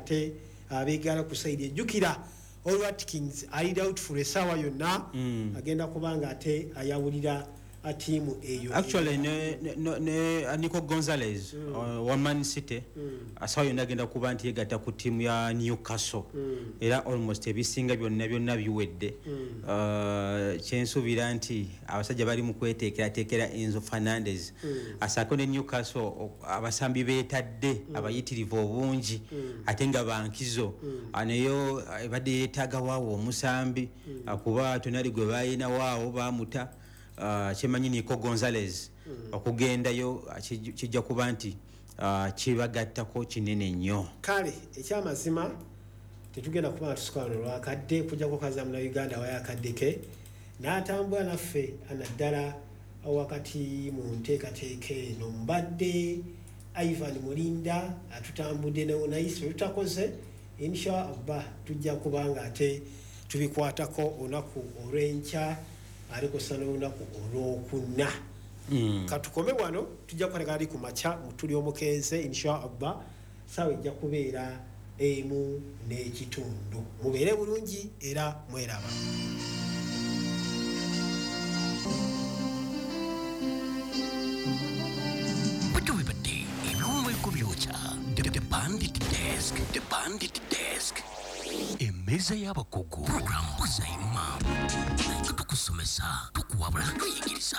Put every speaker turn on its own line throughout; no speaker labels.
ate abeegala ku side. Ejjukira Ollie Watkins ali doubtful essaawa yonna, agenda kuba nga ate ayawulira tiimu eyo.
Actually ne Nico Gonzalez wa Man City asawa yonna agenda kuba nti yegatta ku ttiimu ya Newcastle, era almost ebisinga byonna byonna biwedde. Kyensuubira nti abasajja bali mu kweteekerateekera Enzo Fernandez asaako ne Newcastle abasambi beetadde abayitirivu obungi ate nga bankizo. Nayo ebadde yeetaaga waawo omusambi, kuba Tonali gwe balina waawo bamuta. Kyemanyi Nico Gonzalez okugendayo kijja kuba nti kibagattako kinene nnyo.
Kale ekyamazima tetugenda kuba nga tusuka wano lwakadde kujjako kaza Munauganda wayakadde ke n'atambula naffe naddala wakati mu nteekateeka eno. Mbadde Ivan Mulinda, atutambudde ne tutakoze. Insha Allah tujja kuba nga ate tubikwatako olunaku olw'enkya alikosa n'olunaku olwokuna. Katukome wano, tujja kukwatagana ali ku makya mutuli omukenze insha Allah, saawa ejja kubeera 1:30. Mubeere bulungi era mweraba.
Butyo bibadde ebiwumweko byokya. The Bandit Desk, The Bandit Desk, emmeeza y'abakugu, program Buza Imam, nga tukusomesa, tukuwabula, tuyigiriza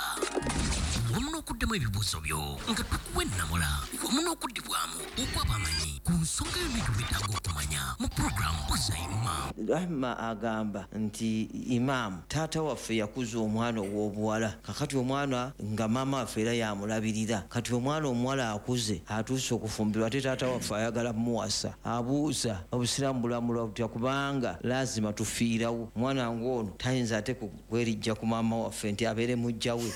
wamu n'okuddamu ebibuuzo byo, nga tukuwa ennamula wamu n'okuddibwamu okw'abamanyi ku nsonga yonna gy'oweetaaga okumanya mu program Buza Imam.
Rahma agamba nti imaamu taata waffe yakuza omwana ow'obuwala, kakati omwana nga maama waffe era yamulabirira. Kati omwana omuwala akuze atuuse okufumbirwa, ate taata waffe ayagala muwasa. Abuuza obusiraamu bulamulwa butya, kubanga lazima tufiirawo omwana ng'ono tayinza ate kwerijja ku maama waffe nti abeere mujja we.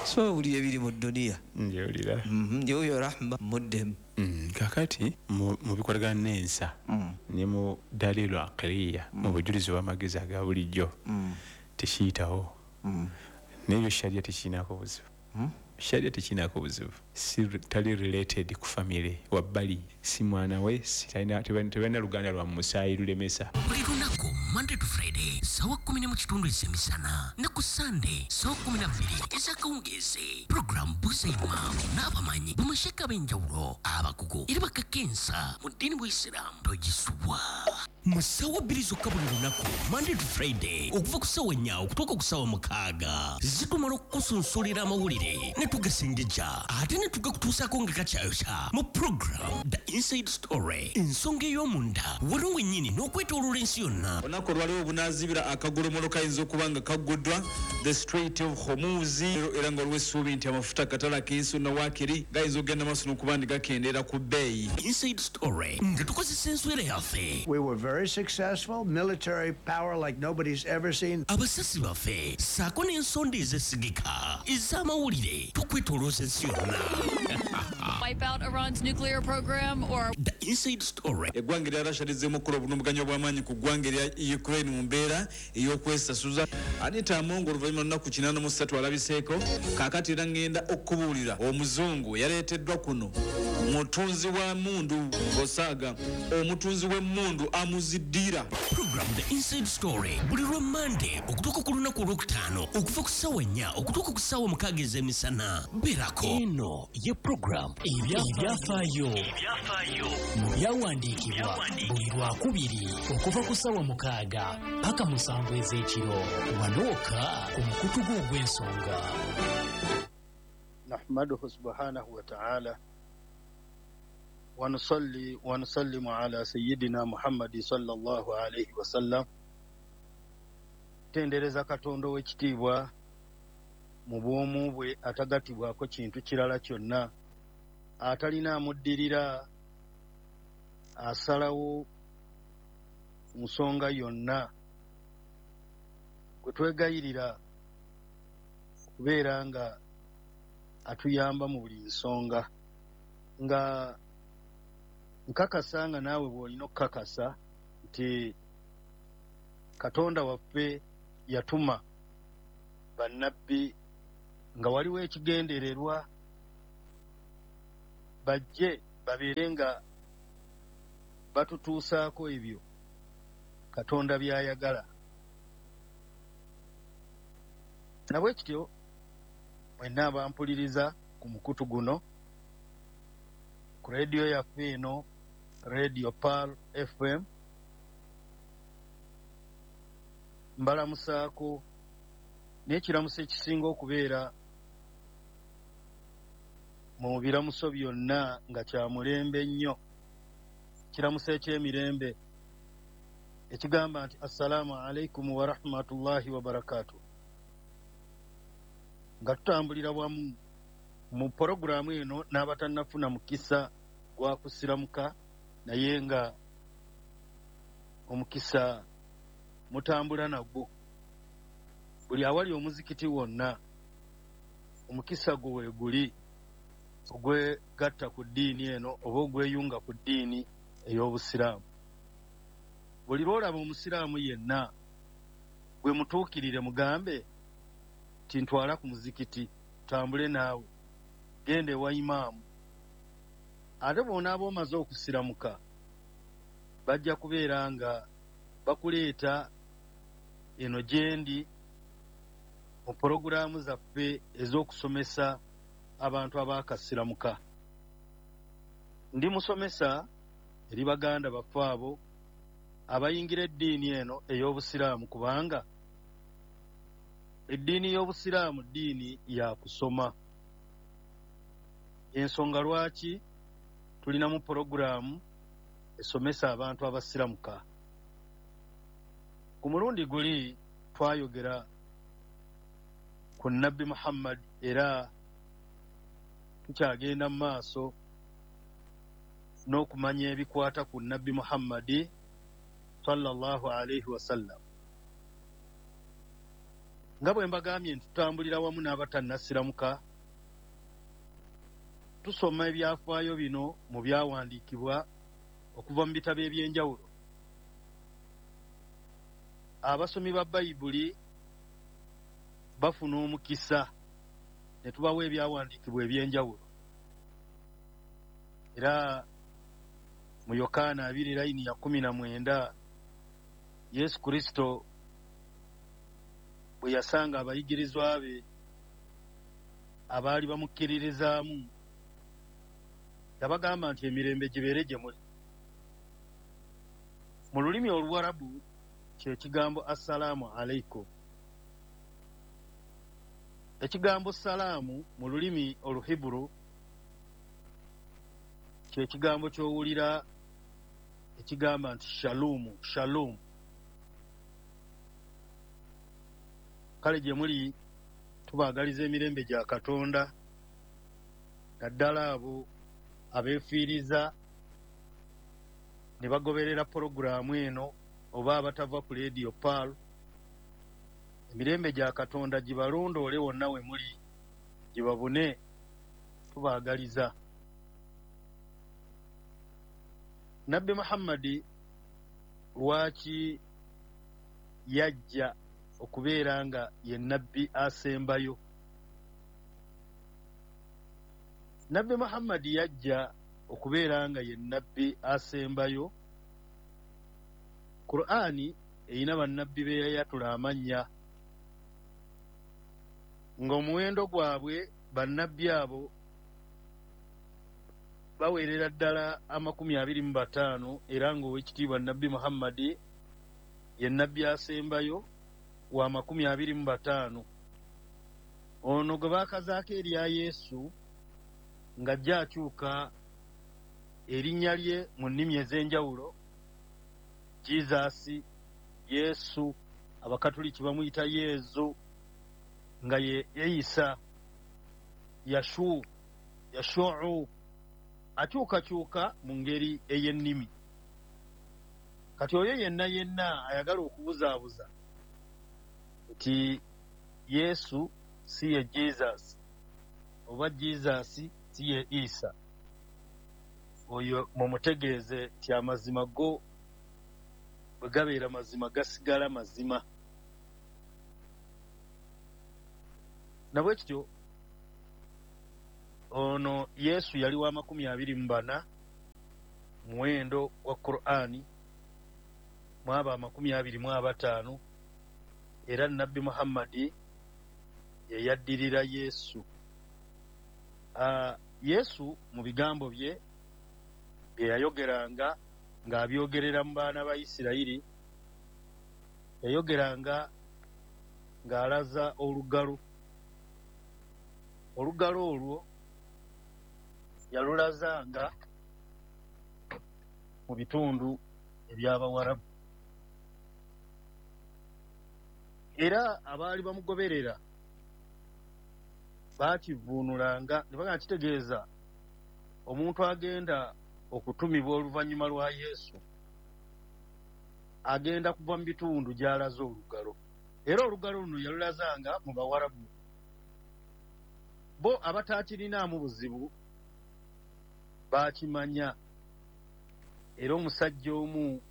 So buli ebiri mu duniya.
Njewulira.
Yoyo Rahma muddemu.
Kakati mu bikolagana n'ensa ne mu dalilu aqiriya, mu bujulizi bw'amagezi aga bulijjo, tekiyitawo. N'ebyo sharia tekirinako buzibu. Sharia tekirinako buzibu. Si tali related ku family wabbali, si mwana we, si tebalina luganda lwa musaayi lulemesa.
Buli lunaku Monday to Friday sawa 10:15 ez'emisana ne ku Sunday sawa 12 ez'akawungeezi, program Buza Imam n'abamanyi bamasheka ab'enjawulo abakugu era bakakensa mu ddiini bw'Isiraamu togisubwa mu ssaawa 2 zokka buli lunaku Monday to Friday okuva ku ssaawa 4 okutuuka ku ssaawa 6. Zitumala okukusunsulira amawulire ne tugasengejja ate ne tugakutuusaako nga kakyayokya mu program The Inside Story, ensonga ey'omunda wano wennyini n'okwetooloola ensi yonna.
Olunaku olwaliwo obunaazibira akagolomolo kayinza okuba nga kagguddwa the Strait of Hormuz, era nga waliwo essuubi nti amafuta katale ak'ensi yonna waakiri gayinza okugenda maaso n'okuba nti gakendeera ku bbeeyi.
Inside Story nga tukozesa enswera yaffe.
We were very successful, military power like nobody's ever seen.
Abasasi baffe ssaako n'ensonda ezesigika ez'amawulire tukwetoolooza ensi yonna.
Wipe out Iran's nuclear program or
The Inside Story.
Eggwanga erya Russia lizzeemu okukola obulumbaganyi obw'amaanyi ku ggwanga erya Ukraine mu mbeera ey'okwesasuza. Anita Among oluvannyuma lunaku 83 alabiseeko. Kaakati era ŋŋenda okubuulira omuzungu yaleeteddwa kuno mutunzi wa mmundu osaaga omutunzi w'emmundu amuziddiira.
Program The Inside Story buli lwa Monday okutuuka ku lunaku olwokutaano okuva ku ssaawa 4 okutuuka ku ssaawa 6 ez'emisana. Beerako.
Eno ye program Ebyafaayo mu byawandiikibwa buli lwakubiri okuva ku ssaawa 6 paka 7 ez'ekiro wano wokka ku mukutu gwo ogw'ensonga.
Nahmaduhu subhanahu wa ta'ala wa nusalli wa nusallimu ala sayyidina Muhammadi sallallahu alayhi wa sallam. Tendereza Katonda ow'ekitiibwa mu bwomu bwe atagattibwako kintu kirala kyonna, atalina amuddirira, asalawo nsonga yonna, gwe twegayirira okubeera nga atuyamba mu buli nsonga, nga nkakasa nga naawe bw'olina okukakasa nti Katonda waffe yatuma bannabbi nga waliwo ekigendererwa bajje Babeere nga batutuusaako ebyo Katonda by'ayagala. Nabwe kityo mwenna abampuliriza ku mukutu guno, ku rediyo yaffe eno, Radio Pearl FM, mbalamusaako n'ekiramuso ekisinga okubeera mu biramuso byonna nga kya mulembe nnyo, kiramuso eky'emirembe ekigamba nti assalaamu alaikum wa rahmatullahi wa barakatuh. Nga tutambulira wamu mu porogulaamu eno n'abatannafuna mukisa gwa kusiramuka, naye nga omukisa mutambula nagwo. Buli awali omuzikiti wonna omukisa gwo weeguli ogwegatta ku ddiini eno oba ogweyunga ku ddiini ey'obusiraamu. Buli lw'olaba omusiraamu yenna gwe mutuukirire, mugambe nti ntwala ku muzikiti, tutambule naawe, genda ewa imaamu. Ate bw'onaaba omaze okusiramuka, bajja kubeera nga bakuleeta eno gyendi mu porogulaamu zaffe ez'okusomesa abantu abaakasiramuka. Ndi musomesa eri baganda baffe abo abayingira eddiini eno ey'obusiraamu, kubanga eddiini y'obusiraamu ddiini ya kusoma. Ensonga lwaki tulinamu porogulaamu esomesa abantu abasiramuka. Ku mulundi guli twayogera ku Nabbi Muhammad, era tukyagenda mu maaso n'okumanya ebikwata ku Nabbi Muhammadi sallallahu alaihi wasallam. Nga bwe mbagambye nti tutambulira wamu n'abatannasiramuka, tusoma ebyafaayo bino mu byawandiikibwa okuva mu bitabo eby'enjawulo. Abasomi ba Bayibuli bafuna omukisa ne tubawa ebyawandiikibwa eby'enjawulo. Era mu Yokaana 2:19, Yesu Kristo bwe yasanga abayigirizwa be abaali bamukkiririzaamu, yabagamba nti emirembe gibeere gye muli. Mu lulimi Oluwarabu kye kigambo assalaamu alaikum. Ekigambo salaamu mu lulimi Oluhiburu kye kigambo ky'owulira ekigamba nti shalumu, shalom. Kale gye muli tubaagaliza emirembe gya Katonda, naddala abo abeefiiriza ne bagoberera porogulaamu eno oba abatava ku Radio Pearl. Emirembe gya Katonda gibalondoole wonna we muli, gibabune, tubaagaliza. Nabbi Muhammadi lwaki yajja okubeera nga ye nabbi asembayo? Nabbi Muhammadi yajja okubeera nga ye nabbi asembayo. Qur'ani erina bannabbi be yayatula amannya, ng'omuwendo gwabwe bannabbi abo baweerera ddala 25, era ng'owekitiibwa Nabbi Muhammadi ye nabbi asembayo wa 25. Ono gwe baakazaako erya Yesu ng'ajja akyuka erinnya lye mu nnimi ez'enjawulo, Jesus, Yesu, Abakatuliki bamuyita Yezu, nga ye Isa, Yashu, Yashuu, akyukakyuka mu ngeri ey'ennimi. Kati oyo yenna yenna ayagala okubuzaabuza nti Yesu si ye Jesus oba Jesus si ye Isa, oyo mumutegeeze nti amazima go bwe gabeera mazima gasigala mazima. Nabwe kityo ono Yesu yali wa 24. Muwendo gwa Qur'ani mwaba 25, era Nabbi Muhammadi yeyaddirira Yesu. Yesu mu bigambo bye bye yayogeranga ng'abyogerera mu baana ba Isirayiri, yayogeranga ng'alaza olugalo. Olugalo olwo yalulazanga mu bitundu eby'Abawarabu, era abaali bamugoberera baakivuunulanga ne bagamba kitegeeza omuntu agenda okutumibwa oluvannyuma lwa Yesu agenda kuva mu bitundu gy'alaze olugalo. Era olugalo luno yalulazanga mu Bawarabu. Bo abataakirinaamu buzibu baakimanya. Era omusajja omu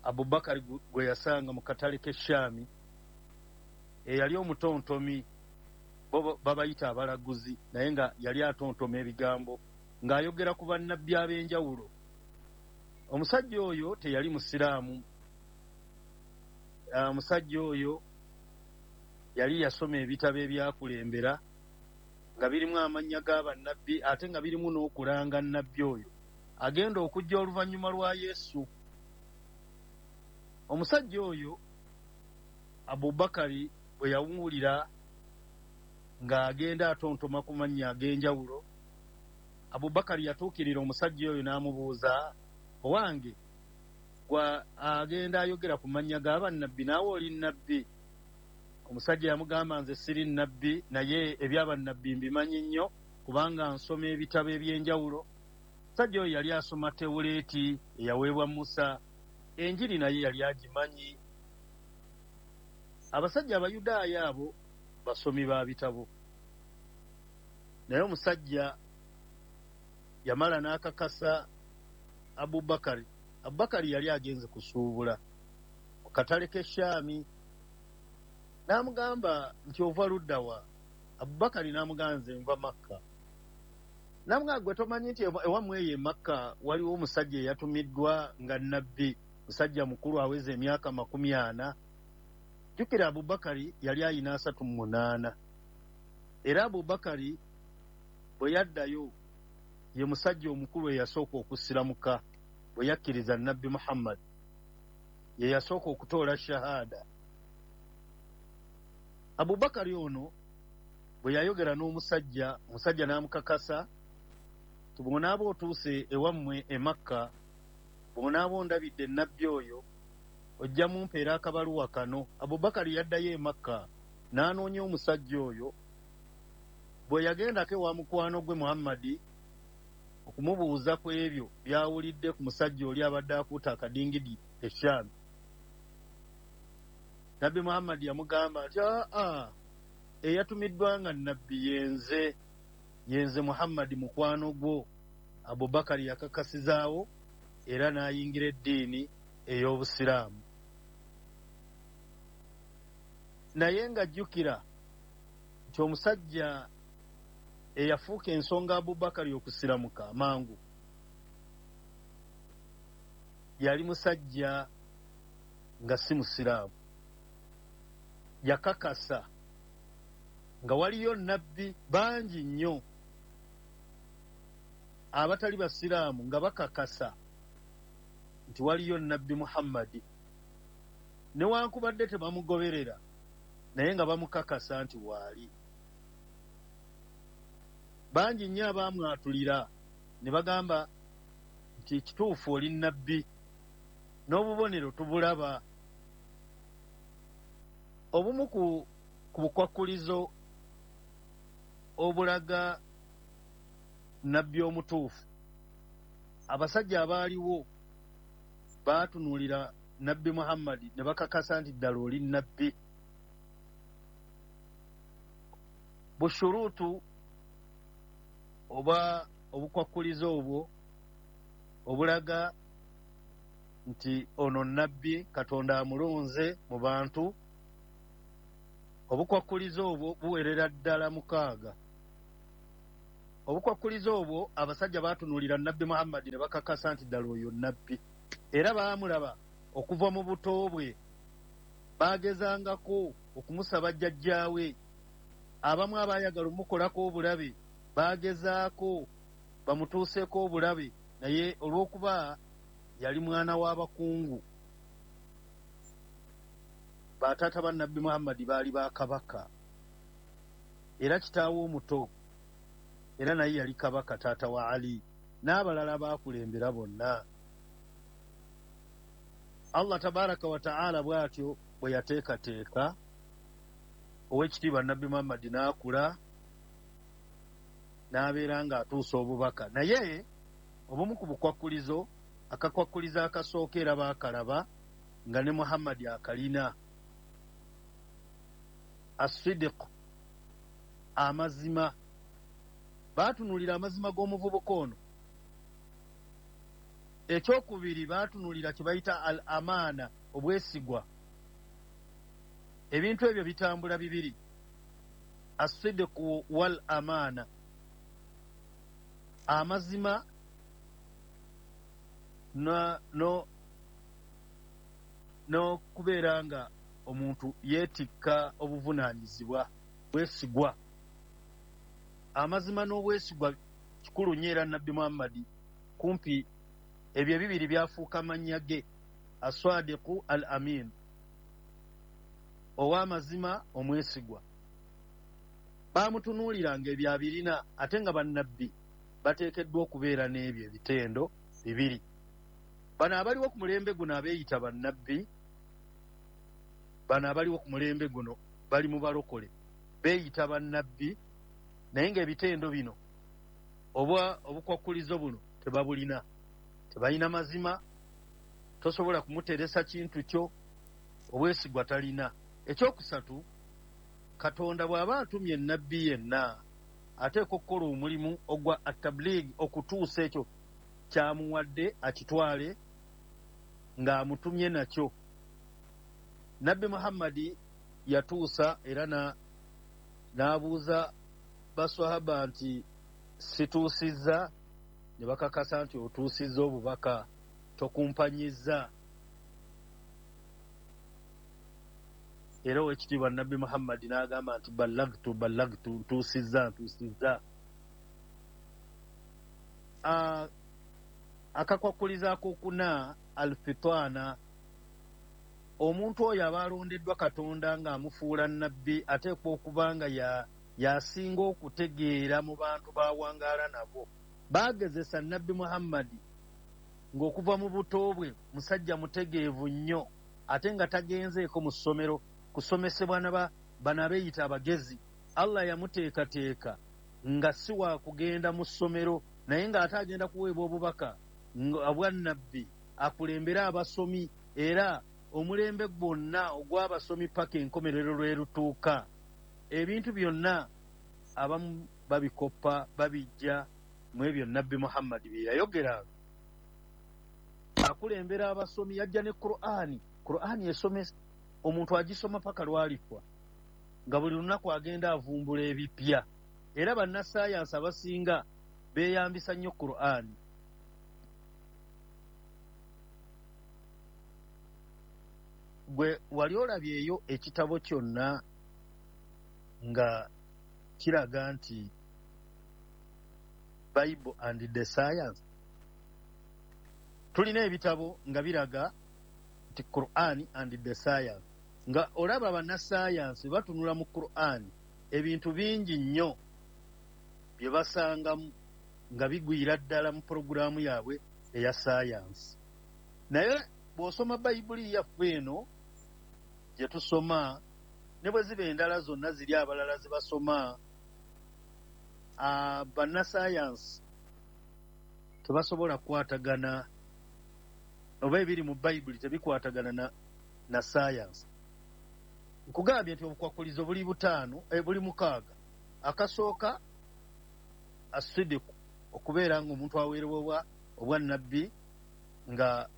Abubakari gwe yasanga mu katale k'e Shaami, eyali omutontomi, bo babayita abalaguzi, naye nga yali atontoma ebigambo ng'ayogera ku bannabbi ab'enjawulo. Omusajja oyo teyali musiraamu. Omusajja oyo yali yasoma ebitabo ebyakulembera nga birimu amannya g'abannabbi, ate nga birimu n'okulanga nnabbi oyo agenda okujja oluvannyuma lwa Yesu. Omusajja oyo Abubakari bwe yawulira ng'agenda atontoma ku mannya ag'enjawulo, Abubakari yatuukirira omusajja oyo n'amubuuza, owange gwa agenda ayogera ku mannya g'abannabbi, naawe oli nnabbi? Omusajja yamugamba, nze siri nnabbi, naye eby'abannabbi mbimanyi nnyo kubanga nsoma ebitabo eby'enjawulo. Omusajja oyo yali asoma Tewuleeti eyaweebwa Musa, Enjiri naye yali agimanyi. Abasajja Abayudaaya abo basomi ba bitabo, naye omusajja yamala n'akakasa Abubakari. Abubakari yali agenze kusuubula mu katale k'e Shaami, n'amugamba nti ova ludda wa? Abubakari n'amugamba nze nva Makka. N'amugamba gwe tomanyi nti ewammwe eyo e Makka waliwo omusajja eyatumiddwa nga nnabbi, musajja mukulu aweza emyaka 40. Jjukira Abubakari yali ayina 38. Era Abubakari bwe yaddayo ye musajja omukulu eyasooka okusiramuka bwe yakkiriza Nabbi Muhammad, ye yasooka okutoola shahada. Abubakari ono bwe yayogera n'omusajja, omusajja n'amukakasa nti bw'onaaba otuuse ewammwe e Makka, bw'onaaba ondabidde nnabbi oyo, ojja mumpeera akabaluwa kano. Abubakari yaddayo e Makka n'anoonya omusajja oyo. Bwe yagendako ewa mukwano gwe Muhammadi okumubuuza ku ebyo by'awulidde ku musajja oli abadde akuuta akadingidi e Shaami, Nabbi Muhammadi yamugamba nti aa, eyatumiddwa nga nnabbi yenze Muhammadi mukwano gwo. Abubakari yakakasizaawo era n'ayingira eddiini ey'Obusiraamu. Naye ng'ajjukira nti omusajja eyafuuka ensonga Abubakari okusiramuka amangu yali musajja nga si musiraamu. Yakakasa nga waliyo nnabbi bangi nnyo abatali basiraamu nga bakakasa nti waliyo nnabbi Muhammadi, newankubadde tebamugoberera, naye nga bamukakasa nti waali. Bangi nnyo abaamwatulira ne bagamba nti kituufu oli nnabbi, n'obubonero tubulaba. Obumu ku bukwakkulizo obulaga nnabbi omutuufu, abasajja abaaliwo baatunuulira Nabbi Muhammadi ne bakakasa nti ddala oli nnabbi. Bushuruutu oba obukwakkulizo obwo obulaga nti ono nnabbi Katonda amulonze mu bantu, obukwakkulizo obwo buwerera ddala 6. Obukwakkulizo obwo abasajja baatunuulira Nabbi Muhammadi ne bakakasa nti ddala oyo nabbi, era baamulaba okuva mu buto bwe, baagezangako okumusaba jjajjaawe. Abamu abaayagala omukolako obulabe baagezaako bamutuuseeko obulabe, naye olw'okuba yali mwana w'abakungu, bataata ba Nabbi Muhammadi baali ba kabaka, era kitaawe omuto era naye yali kabaka, taata wa Ali n'abalala baakulembera bonna. Allah tabaraka wa taala bw'atyo bwe yateekateeka ow'ekitiibwa Nabbi Muhammadi n'akula n'abeera ng'atuusa obubaka. Naye obumu ku bukwakkulizo, akakwakkulizo akasooka era baakalaba nga ne Muhammadi akalina, asidiku, amazima. Baatunuulira amazima g'omuvubuka ono. Ekyokubiri baatunuulira kye bayita al amaana, obwesigwa. Ebintu ebyo bitambula bibiri, asidiku wal amaana, amazima n'okubeera nga omuntu yeetikka obuvunaanyizibwa, bwesigwa. Amazima n'obwesigwa kikulu nnyo, era Nabbi Muhammadi kumpi ebyo ebibiri byafuuka mannya ge, aswadiku al amin, ow'amazima omwesigwa. Baamutunuuliranga ebyo abirina, ate nga bannabbi bateekeddwa okubeera n'ebyo ebitendo bibiri. Bano abaliwo ku mulembe guno abeeyita bannabbi, bano abaliwo ku mulembe guno bali mu balokole, beeyita bannabbi, naye ng'ebitendo bino oba obukwakkulizo buno tebabulina. Tebalina mazima, tosobola kumuteresa kintu kyo, obwesigwa talina. Ekyokusatu, Katonda bw'aba atumye nabbi yenna ateekwa okukola omulimu ogwa atabliigi, okutuusa ekyo kyamuwadde akitwale ng'amutumye nakyo. Nabbi Muhammadi yatuusa era n'abuuza baswahaba nti situusizza? Ne bakakasa nti otuusizza obubaka, tokumpanyizza. Era ow'ekitiibwa Nabbi Muhammadi n'agamba nti ballagtu ballagtu, ntuusizza ntuusizza. Akakwakkulizo akokuna, alfitaana, omuntu oyo aba alondeddwa Katonda ng'amufuula nabbi ateekwa okuba nga yasinga okutegeera mu bantu bawangaala nabo. Baagezesa Nabbi Muhammadi ng'okuva mu buto bwe musajja mutegeevu nnyo, ate nga tagenzeeko mu ssomero kusomesebwa bano abeeyita abagezi. Allah yamuteekateeka nga si wa kugenda mu ssomero, naye ng'ate agenda kuweebwa obubaka obwa nabbi akulembere abasomi, era omulembe gwonna ogw'abasomi paka enkomerero lwe lutuuka. Ebintu byonna abamu babikoppa, babijja mu ebyo Nabbi Muhammadi bye yayogeranga. Akulembera abasomi, yajja ne Qur'ani. Qur'ani esomesa omuntu agisoma paka lwalifa, nga buli lunaku agenda avumbula ebipya. Era bannasayansi abasinga beeyambisa nnyo Qur'ani. Gwe wali olabyeyo ekitabo kyonna nga kiraga nti Bible and the Science? Tulina ebitabo nga biraga nti Qur'an and the Science, nga olaba bannasayansi batunula mu Qur'an ebintu bingi nnyo bye basangamu nga bigwira ddala mu pulogulaamu yaabwe eya sayansi. Naye bw'osoma Bayibuli yaffe eno gye tusoma, ne bwe ziba endala zonna ziri abalala ze basoma, bannasayansi tebasobola kukwatagana, oba ebiri mu Bayibuli tebikwatagana na sayansi. Nkugambye nti obukwakkulizo buli butaano, buli mukaaga. Akasooka asidiku, okubeera ng'omuntu aweerebwa obwannabbi nga